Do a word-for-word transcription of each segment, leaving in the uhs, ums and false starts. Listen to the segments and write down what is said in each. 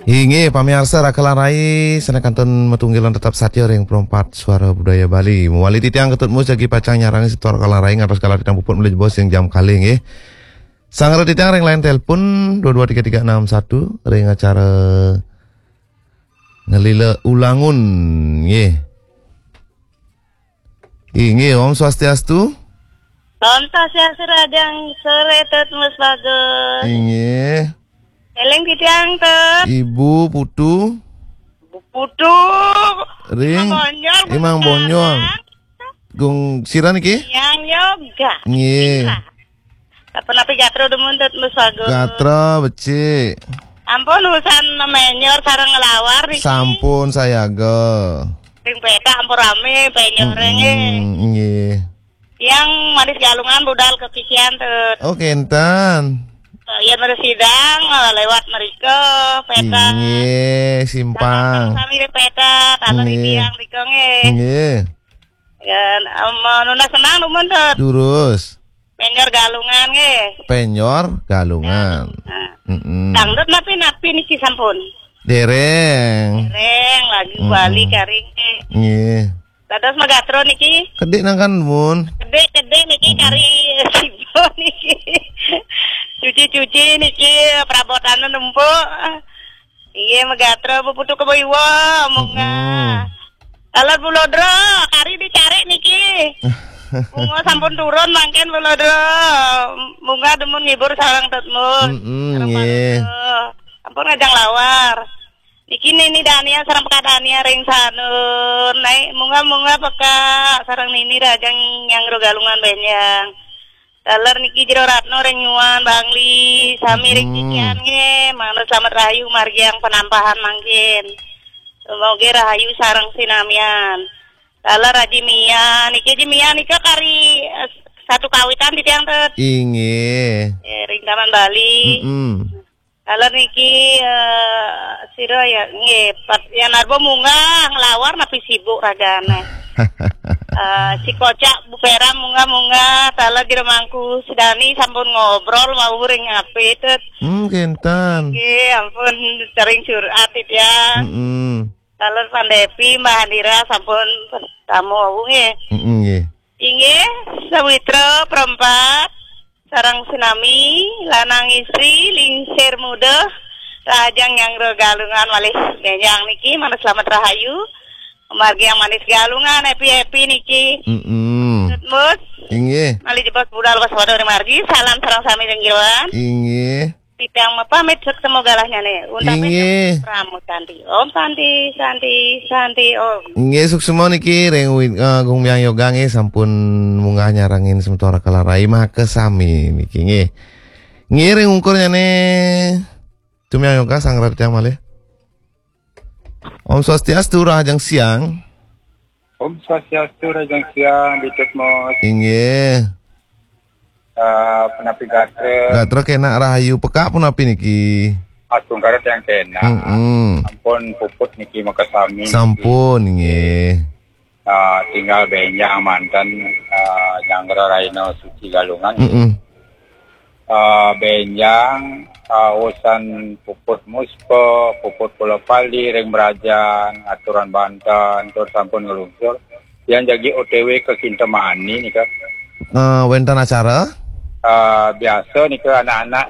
Inggih, pamiarsa Raka lan Rai, sané kantun matunggilan tetep satia ring Perempat Suara Budaya Bali. Mawali titiang Ketut Mus jagi pacang nyarengin semeton Raka lan Rai ngantos galah titiang puput malih jebos ring jam kalih, nggih. Sanggra titiang ring line telepon dua dua tiga tiga enam satu ring acara Ngelila Ulangun, nggih. Inggih, Om Swastiastu. Om Swastiastu, rahajeng soré, Tut Mus Bagus. Inggih. Éling titiang, Tut. Ibu Putu. Putu. Ring Imang Bonyol, Imang Putu Bonyol. Karang. Gung sira niki? Yang Yoga. Nggih. Iya. Punapi gatra dumun, Tut Mus Bagus? Gatra becik. Ampun, usan menyor sareng nglawar niki. Sampun sayaga. Ring pétak ampun ramé penyoré nggih. Mm-mm, nggih. Yang Manis Galungan budal kekikian, Tut. Oh, kénten. Eh, yén mriki sidang, eh, lewat mrika, pétak. Inggih, simpang. Sami ring pétak, taler ring tiang mrika nggih. Nggih. Yén, em, nunas senang dumun, Tut. Durus. Penyor Galungan nggih. Penyor Galungan. Nah. Mm-mm. Dangdut napi-napi niki sampun? Déréng. Déréng, lagu Bali kari nggih. Nggih. Dados magatra niki. Kedik nangkan, Mun. Kedik-kedik niki kari sibo niki. Cuci-cuci niki, perabotan numpuk. Inggih, magatra, Bu Putu Kebo Iwa, munggah. Mm-mm. Taler Bulodra, kari dicari niki. Munggah sampun turun mangkin Bulodra. Munggah dumun ngibur sareng Tut Mus. Mm-mm, sareng nggih. Pak Rudra. Ampun ngajeng lawar. Niki Nini Dania sareng Peka Dania ring Sanur. Naik munggah-munggah Peka sareng Nini rahajeng nyanggra Galungan bénjang. Taler niki Jero Ratno ring Nyuan, Bangli, sami ring Cikian nggih. Mangda slamet rahayu margiang penampahan mangkin. Semoga rahayu sareng sinamian. Taler Aji Mia, niki Aji Mia nika kari, eh, satu kawitan titiang, Tut. Inggih. Eh, ring Taman Bali. Mm-mm. Taler niki, eh, sira ya, nggih, Pat, Yan Arbo munggah nglawar napi sibuk ragané. Eh, si Kocak Bu Peram munggah-munggah, taler Jero Mangku Sudani sampun ngobrol wau ring H P, Tut. Hmm, kénten. Nggih, ampun, sering curhat titiang. Mm-mm. Taler Pandepi, Mbah Andira sampun tamu wau nggih. Mm-mm, nggih. Inggih, sawitra perempat sareng sinami, lanang istri, lingsir muda, rahajeng nyanggra Galungan malih bénjang niki, mangda slamet rahayu. Margi yang manis Galungan, happy-happy niki. Mm-mm. Tut Mus. Inggih. Malih jebos budal waspada ring margi, salam sareng sami ring jeroan. Inggih. Titiang mapamit, suksma galahnyané. Untapi inggih. Pramu Santi. Om Santi, Santi, Santi, Om. Inggih, suksma niki ring Win-, eh, Gung Myang Yoga nggih sampun munggah nyarengin semeton Raka lan Rai makasami niki nggih. Nggih, ring ungkurnyané Gung Myang Yoga sanggra titiang malih. Om Swastiastu, rahajeng siang. Om Swastiastu, rahajeng siang, Tut Mus. Inggih. Eh, punapi gatra? Gatra kénak rahayu, Peka punapi niki? Astungkara tiang kénak. Mm-mm. Sampun puput niki makasami. Sampun, nggih. Eh, tinggal bénjang manten, eh, nyanggra rahina suci Galungan. Mm-mm. Eh, bénjang, eh, usan puput muspa, puput pula pali ring mrajan, aturan banten, tur sampun nglungsur. Yan jagi O T W ka Kintamani nika. Eh, wénten acara? Eh, biasa nika anak-anak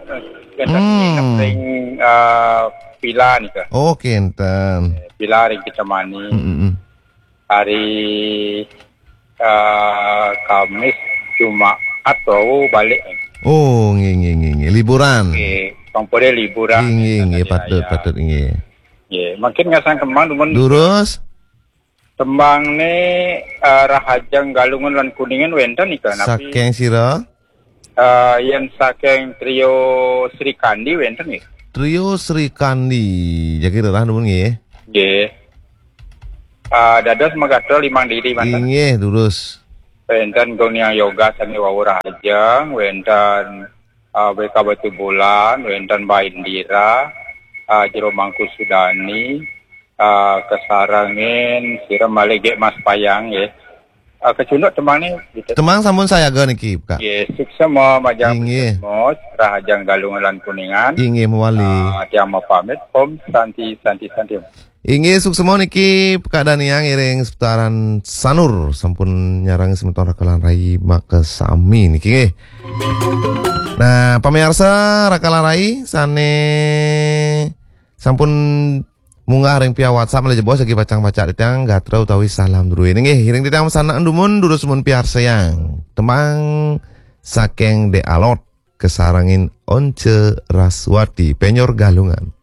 wénten nginep ring, eh, villa nika. Oh, kénten. Villa ring Kintamani. Mm, mm, mm. Hari, eh, Kamis, Jumaat wau balik. Oh, nggih, nggih, nggih, nggih. Liburan. Nggih, pang pada liburan. Nggih, nggih, nggih, patut, patut, nggih. Nggih, mangkin ngasang tembang dumun. Durus. Tembangné, eh, Rahajeng Galungan lan Kuningan wénten nika, napi? Saking sira? Eh, yén saking Trio Sri Kandi wénten nggih. Trio Sri Kandi, jagi rerah dumun nggih. Nggih. Eh, dados magatra limang diri manten. Inggih, durus. Wénten Gung Niang Yoga sami wau rahajeng, wénten, eh, B K Batubulan, wénten Mbak Indira, eh, Jero Mangku Sudani, eh, kasarengin sira malih Gék Mas Payang nggih. Ah, kecunduk tembang ni, gitu. Tembang sampun sayaga niki, Pak. Nggih, suksma majeng Inggih. Puskesmas, Rahajeng Galungan lan Kuningan. Inggih, mawali. Ah, tiang mapamit, Om Santi, Santi, Santi. Inggih, suksma niki Pak Daniang iring seputaran Sanur sampun nyarang semeton Raka lan Rai makasami niki nggih. Nah, pamirsa Raka lan Rai sane sampun munggah ring via WhatsApp malih jebos lagi pacang pacak titiang gatra utawi salam druene nggih. Iring titiang masanak dumun durus mun piarsayang. Tembang saking De Alot kasarengin Once Raswati, Penyor Galungan.